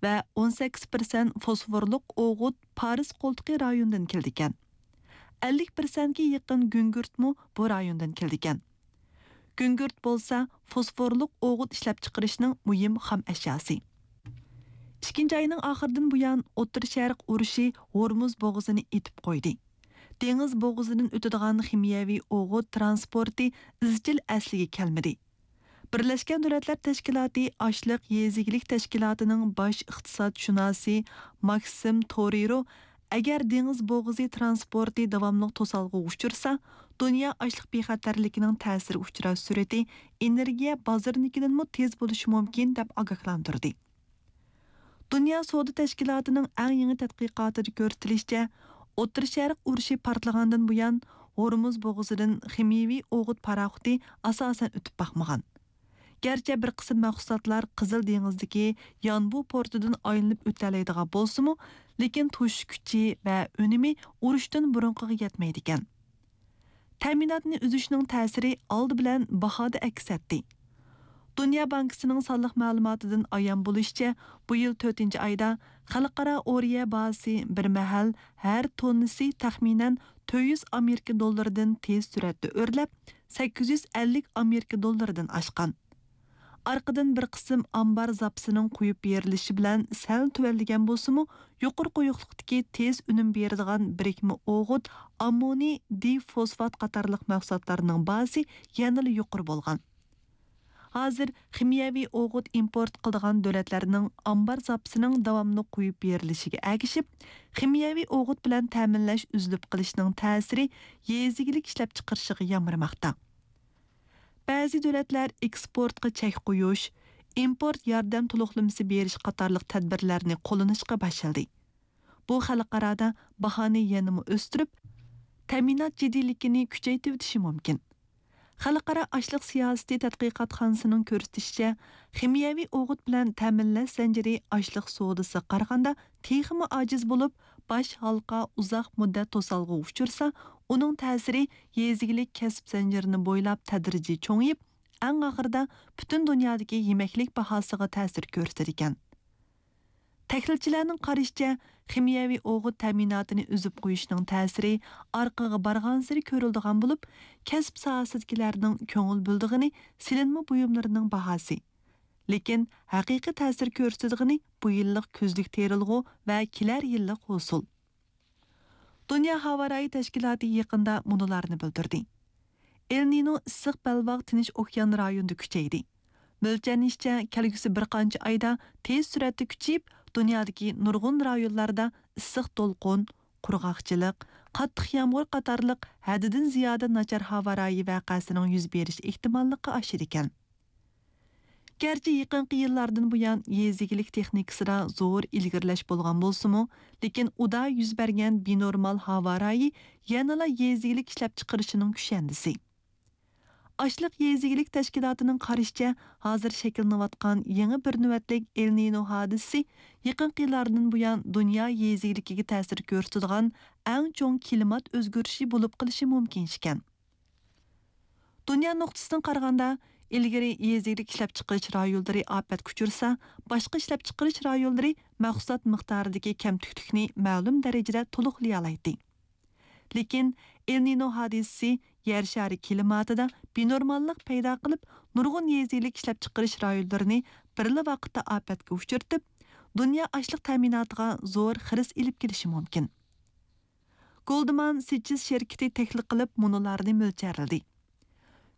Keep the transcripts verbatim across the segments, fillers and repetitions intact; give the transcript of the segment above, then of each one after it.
ۋە ئون سەككىز پىرسەنت فوسفورلۇق ئوغۇت پارس قولتۇقى رايونىدىن كېلىدىكەن. ئەللىك پىرسەنتكە يېقىن گۈڭگۈرتمۇ بۇ رايوندىن كېلىدىكەن. گۈڭگۈرت بولسا فوسفورلۇق ئوغۇت ئىشلەپچىقىرىشنىڭ مۇھىم خام ئەشياسى. ئىككىنچى ئاينىڭ ئاخىرىدىن بۇيان، ئوتتۇرا شەرق ئۇرۇشى ھورمۇز بوغۇزىنى ئېتىپ قويدى. دېڭىز بوغۇزىدىن ئۆتىدىغان خىمىيەۋى ئوغۇت تىرانسپورتى ئىزچىل ئەسلىگە كەلمىدى. بىرلەشكەن دۆلەتلەر تەشكىلاتى ئاشلىق يېزا ئىگىلىك تەشكىلاتىنىڭ باش ئىقتىسادشۇناسى ماكسىم تورېرو، ئەگەر دېڭىز بوغۇزى تىرانسپورتى داۋاملىق توسالغۇغا ئۇچرىسا، دۇنيا ئاشلىق بىخەتەرلىكىنىڭ تەسىرگە ئۇچراش سۈرئىتى ئېنېرگىيە بازىرىنىڭكىدىنمۇ تېز بولۇشى مۇمكىن، دەپ ئاگاھلاندۇردى. دۇنيا سودا تەشكىلاتىنىڭ ئەڭ يېڭى تەتقىقاتىدا كۆرسىتىلىشىچە، ئوتتۇرا شەرق ئۇرۇشى پارتلىغاندىن بۇيان، ھورمۇز بوغۇزىدىن خىمىيەۋى ئوغۇت پاراخوتى ئاساسەن ئۆتۈپ باقمىغان. گەرچە بىر قىسىم مەھسۇلاتلار قىزىل دېڭىزدىكى يانبۇ پورتىدىن ئايلىنىپ ئۆتەلەيدىغان بولسىمۇ، لېكىن توشۇش كۈچى ۋە ئۈنۈمى ئۇرۇشتىن بۇرۇنقىغا يەتمەيدىكەن. تەمىناتنى ئۈزۈشنىڭ تەسىرى ئالدى بىلەن باھادا ئەكس ئەتتى. دۇنيا بانكىسىنىڭ سانلىق مەلۇماتىدىن ئايان بولۇشىچە، بۇ يىل تۆتىنچى ئايدا خەلقئارا ئورىيە باھاسى بىر مەھەل ھەر توننىسى تەخمىنەن تۆت يۈز ئامېرىكا دوللىرىدىن تېز سۈرئەتتە ئۆرلەپ، سەككىز يۈز ئەللىك ئامېرىكا دوللىرىدىن ئاشقان. ئارقىدىن بىر قىسىم ئامبار زاپىسىنىڭ قويۇپ بېرىلىشى بىلەن سەل تۆۋەنلىگەن بولسىمۇ، يۇقىرى قويۇقلۇقتىكى تېز ئۈنۈم بېرىدىغان بىرىكمە ئوغۇت، ئاممونىي دىفوسفات قاتارلىق مەھسۇلاتلارنىڭ باھاسى يەنىلا يۇقىرى بولغان. ھازىر خىمىيەۋى ئوغۇت ئىمپورت قىلىدىغان دۆلەتلەرنىڭ ئامبار زاپىسىنىڭ داۋاملىق قويۇپ بېرىلىشىگە ئەگىشىپ، خىمىيەۋى ئوغۇت بىلەن تەمىنلەش ئۈزۈلۈپ قېلىشنىڭ تەسىرى يېزا ئىگىلىك ئىشلەپچىقىرىشىغا يامرىماقتا. بەزى دۆلەتلەر ئېكسپورتقا چەك قويۇش، ئىمپورت ياردەم تولۇقلىمىسى بېرىش قاتارلىق تەدبىرلەرنى قوللىنىشقا باشلىدى. بۇ خەلقئارادا باھانى يەنىمۇ ئۆستۈرۈپ، تەمىنات جىددىيلىكىنى كۈچەيتىۋېتىشى مۇمكىن. خەلقئارا ئاشلىق سىياسىتى تەتقىقاتخانىسىنىڭ كۆرسىتىشىچە، خىمىيەۋى ئوغۇت بىلەن تەمىنلەش زەنجىرى ئاشلىق سودىسىغا قارىغاندا تېخىمۇ ئاجىز بولۇپ، باش ھالقا ئۇزاق مۇددەت توسالغۇغا ئۇچرىسا، ئۇنىڭ تەسىرى يېزا ئىگىلىك كەسىپ زەنجىرىنى بويلاپ تەدرىجىي چوڭىيىپ، ئەڭ ئاخىرىدا پۈتۈن دۇنيادىكى يېمەكلىك باھاسىغا تەسىر كۆرسىتىدىكەن. تەھلىلچىلەرنىڭ قارىشىچە، خىمىيەۋى ئوغۇت تەمىناتىنى ئۈزۈپ قويۇشنىڭ تەسىرى ئارقىغا بارغانسېرى كۆرۈلىدىغان بولۇپ، كەسىپ ساھەسىدىكىلەرنىڭ كۆڭۈل بۆلىدىغىنى سېلىنما بۇيۇملىرىنىڭ باھاسى. لېكىن ھەقىقىي تەسىر كۆرسىتىدىغىنى بۇ يىللىق كۈزلۈك تېرىلغۇ ۋە كېلەر يىللىق ھوسۇل. دۇنيا ھاۋا رايى تەشكىلاتى يېقىندا مۇنۇلارنى بىلدۈردى: ئېل نىنو ئىسسىق بەلباغ تىنچ ئوكيان رايونىدا كۈچەيدى. مۆلچەرلىنىشىچە، كەلگۈسى بىر قانچە ئايدا تېز سۈرئەتتە كۈچىيىپ، دۇنيادىكى نۇرغۇن رايونلاردا ئىسسىق دولقۇن، قۇرغاقچىلىق، قاتتىق يامغۇر قاتارلىق ھەددىدىن زىيادە ناچار ھاۋا رايى ۋەقەسىنىڭ يۈز بېرىش ئېھتىماللىقى ئاشىدىكەن. گەرچە يېقىنقى يىللاردىن بۇيان يېزا ئىگىلىك تېخنىكىسىدا زور ئىلگىرىلەش بولغان بولسىمۇ، لېكىن ئۇدا يۈز بەرگەن بىنورمال ھاۋا رايى يەنىلا يېزا ئىگىلىك ئىشلەپچىقىرىشىنىڭ كۈشەندىسى. ئاشلىق يېزا ئىگىلىك تەشكىلاتىنىڭ قارىشىچە، ھازىر شەكىللىنىۋاتقان يېڭى بىر نۆۋەتلىك ئېل نىنو ھادىسىسى يېقىنقى يىللاردىن بۇيان دۇنيا يېزا ئىگىلىكىگە تەسىر كۆرسىتىدىغان ئەڭ چوڭ كىلىمات ئۆزگىرىشى بولۇپ قېلىشى مۇمكىن ئىكەن. دۇنيا نۇقتىسىدىن قارىغاندا، ئىلگىرى يېزا ئىگىلىك ئىشلەپچىقىرىش رايونلىرى ئاپەتكە ئۇچرىسا، باشقا ئىشلەپچىقىرىش رايونلىرى مەھسۇلات مىقدارىدىكى كەمتۈكلۈكنى مەلۇم دەرىجىدە تولۇقلىيالايتتى. لېكىن ئېل نىنو ھادىسىسى يەر شارى كىلىماتىدا بىنورماللىق پەيدا قىلىپ، نۇرغۇن يېزا ئىگىلىك ئىشلەپچىقىرىش رايونلىرىنى بىرلا ۋاقىتتا ئاپەتكە ئۇچرىتىپ، دۇنيا ئاشلىق تەمىناتىغا زور خىرىس ئېلىپ كېلىشى مۇمكىن. گولدمان سېچېس شىركىتى تەھلىل قىلىپ مۇنۇلارنى مۆلچەرلىدى.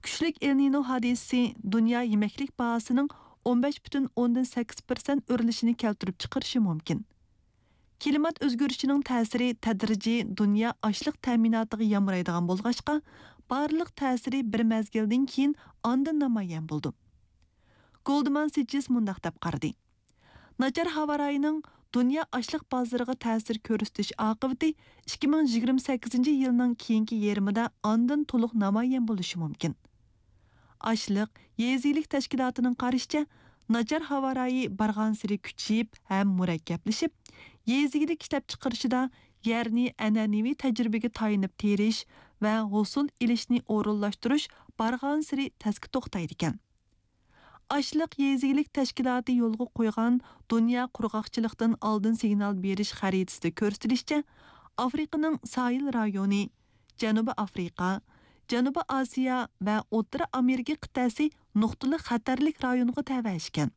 كۈچلۈك ئېل نىنو ھادىسىسى دۇنيا يېمەكلىك باھاسىنىڭ ئون بەش پۈتۈن ئوندىن سەككىز پىرسەنت ئۆرلىشىنى كەلتۈرۈپ چىقىرىشى مۇمكىن. كىلىمات ئۆزگىرىشىنىڭ تەسىرى تەدرىجىي دۇنيا ئاشلىق تەمىناتىغا يامرايدىغان بولغاچقا، بارلىق تەسىرى بىر مەزگىلدىن كېيىن ئاندىن نامايان بولىدۇ. گولدمان سېچېس مۇنداق دەپ قارىدى: ناچار ھاۋا رايىنىڭ دۇنيا ئاشلىق بازىرىغا تەسىر كۆرسىتىش ئاقىۋىتى ئىككى مىڭ يىگىرمە سەككىزىنچى يىلنىڭ كېيىنكى يېرىمىدا ئاندىن تولۇق نامايان بولۇشى مۇمكىن. ئاشلىق يېزا ئىگىلىك تەشكىلاتىنىڭ قارىشىچە، ناچار ھاۋا رايى بارغانسېرى كۈچىيىپ ھەم مۇرەككەپلىشىپ، يېزا ئىگىلىك ئىشلەپچىقىرىشىدا يەرنى ئەنئەنىۋى تەجرىبىگە تايىنىپ تېرىش ۋە ھوسۇل ئېلىشنى ئورۇنلاشتۇرۇش بارغانسېرى تەسكە توختايدىكەن. ئاشلىق يېزا ئىگىلىك تەشكىلاتى يولغا قويغان دۇنيا قۇرغاقچىلىقتىن ئالدىن سىگنال بېرىش خەرىتىسىدە كۆرسىتىلىشىچە، ئافرىقىنىڭ ساھىل رايونى، جەنۇبىي ئافرىقا، جەنۇبىي ئاسىيا ۋە ئوتتۇرا ئامېرىكا قىتئەسى نۇقتىلىق خەتەرلىك رايونغا تەۋە ئىكەن.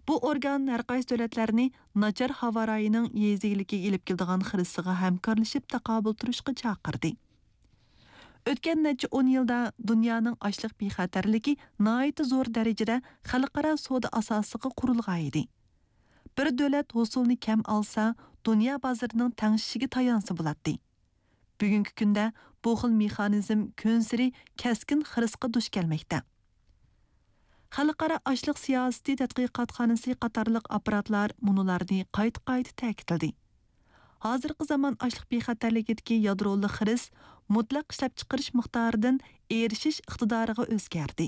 بۇ ئورگان ھەرقايسى دۆلەتلەرنى ناچار ھاۋا رايىنىڭ يېزا ئىگىلىكىگە ئېلىپ كېلىدىغان خىرىسىغا ھەمكارلىشىپ تاقابىل تۇرۇشقا چاقىردى. ئۆتكەن نەچچە ئون يىلدا دۇنيانىڭ ئاشلىق بىخەتەرلىكى ناھايىتى زور دەرىجىدە خەلقئارا سودا ئاساسىغا قۇرۇلغان ئىدى. بىر دۆلەت ھوسۇلنى كەم ئالسا، دۇنيا بازىرىنىڭ تەڭشىشىگە تايانسا بولاتتى. بۈگۈنكى كۈندە بۇ خىل مېخانىزم كۈنسېرى كەسكىن خىرىسقا دۇچ كەلمەكتە. خەلقئارا ئاشلىق سىياسىتى تەتقىقاتخانىسى قاتارلىق ئاپپاراتلار مۇنۇلارنى قايتا-قايتا تەكىتلىدى. ھازىرقى زامان ئاشلىق بىخەتەرلىكىدىكى يادرولۇق خىرىس مۇتلەق ئىشلەپچىقىرىش مىقدارىدىن ئېرىشىش ئىقتىدارىغا ئۆزگەردى.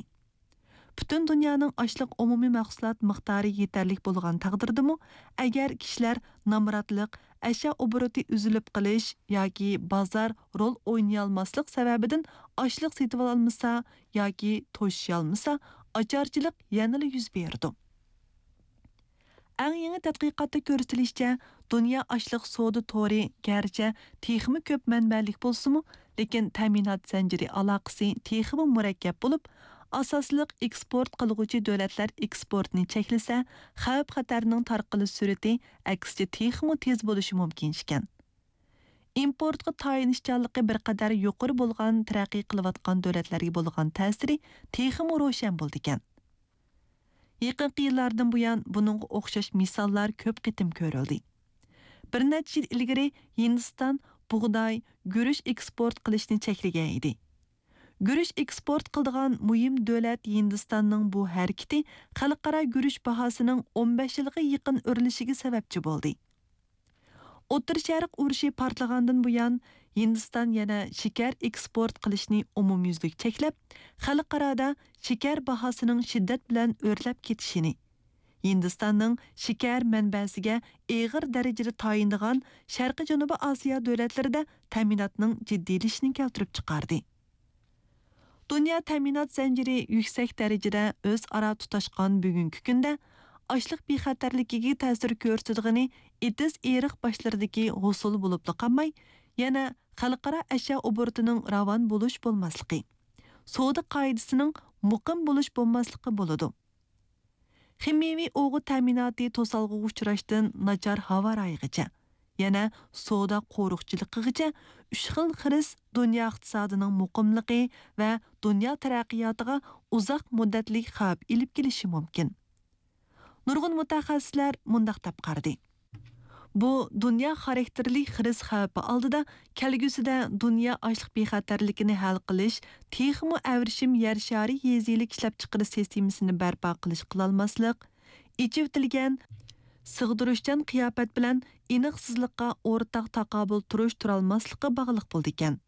پۈتۈن دۇنيانىڭ ئاشلىق ئومۇمىي مەھسۇلات مىقدارى يېتەرلىك بولغان تەقدىردىمۇ، ئەگەر كىشىلەر نامراتلىق، ئەشيا ئوبوروتى ئۈزۈلۈپ قېلىش ياكى بازار رول ئوينىيالماسلىق سەۋەبىدىن ئاشلىق سېتىۋالالمىسا ياكى توشۇشالمىسا، ئاچارچىلىق يەنىلا يۈز بېرىدۇ. ئەڭ يېڭى تەتقىقاتتا كۆرسىتىلىشىچە، دۇنيا ئاشلىق سودا تورى گەرچە تېخىمۇ كۆپ مەنبەلىك بولسىمۇ، لېكىن تەمىنات زەنجىرى ئالاقىسى تېخىمۇ مۇرەككەپ بولۇپ، ئاساسلىق ئېكسپورت قىلغۇچى دۆلەتلەر ئېكسپورتنى چەكلىسە، خەۋپ-خەتەرنىڭ تارقىلىش سۈرئىتى ئەكسىچە تېخىمۇ تېز بولۇشى مۇمكىن ئىكەن. ئىمپورتقا تايىنىشچانلىقى بىر قەدەر يۇقىرى بولغان تەرەققىي قىلىۋاتقان دۆلەتلەرگە بولغان تەسىرى تېخىمۇ روشەن بولىدىكەن. يېقىنقى يىللاردىن بۇيان بۇنىڭغا ئوخشاش مىساللار كۆپ قېتىم كۆرۈلدى. بىر نەچچە يىل ئىلگىرى ھىندىستان بۇغداي، گۈرۈچ ئېكسپورت قىلىشنى چەكلىگەن ئىدى. گۈرۈچ ئېكسپورت قىلىدىغان مۇھىم دۆلەت ھىندىستاننىڭ بۇ ھەرىكىتى خەلقئارا گۈرۈچ باھاسىنىڭ ئون بەش يىلغا يېقىن ئۆرلىشىگە سەۋەبچى بولدى. ئوتتۇرا شەرق ئۇرۇشى پارتلىغاندىن بۇيان، ھىندىستان يەنە شېكەر ئېكسپورت قىلىشنى ئومۇميۈزلۈك چەكلەپ، خەلقئارادا شېكەر باھاسىنىڭ شىددەت بىلەن ئۆرلەپ كېتىشىنى، ھىندىستاننىڭ شېكەر مەنبەسىگە ئېغىر دەرىجىدە تايىنىدىغان شەرقىي جەنۇبىي ئاسىيا دۆلەتلىرىدە تەمىناتنىڭ جىددىيلىشىشىنى كەلتۈرۈپ چىقاردى. دۇنيا تەمىنات زەنجىرى يۈكسەك دەرىجىدە ئۆزئارا تۇتاشقان بۈگۈنكى كۈندە، ئاشلىق بىخەتەرلىكىگە تەسىر كۆرسىتىدىغىنى ئېتىز-ئېرىق باشلىرىدىكى ھوسۇل بولۇپلا قالماي، يەنە خەلقئارا ئەشيا ئوبوروتىنىڭ راۋان بولۇش بولماسلىقى، سودا قائىدىسىنىڭ مۇقىم بولۇش بولماسلىقى بولىدۇ. خىمىيەۋى ئوغۇت تەمىناتى توسالغۇغا ئۇچراشتىن ناچار ھاۋا رايىغىچە، يەنە سودا قورۇقچىلىقىغىچە ئۈچ خىل خىرىس دۇنيا ئىقتىسادىنىڭ مۇقىملىقى ۋە دۇنيا تەرەققىياتىغا ئۇزاق مۇددەتلىك خەۋپ ئېلىپ كېلىشى مۇمكىن. نۇرغۇن مۇتەخەسسىسلەر مۇنداق دەپ قارىدى: بۇ دۇنيا خاراكتېرلىك خىرىس خەۋپى ئالدىدا كەلگۈسىدە دۇنيا ئاشلىق بىخەتەرلىكىنى ھەل قىلىش تېخىمۇ ئەۋرىشىم يەر شارى يېزا ئىگىلىك ئىشلەپچىقىرىش سىستېمىسىنى بەرپا قىلىش قىلالماسلىق، ئېچىۋېتىلگەن، سىغدۇرۇشچان قىياپەت بىلەن ئېنىقسىزلىققا ئورتاق تاقابىل تۇرۇش تۇرالماسلىققا باغلىق بولىدىكەن.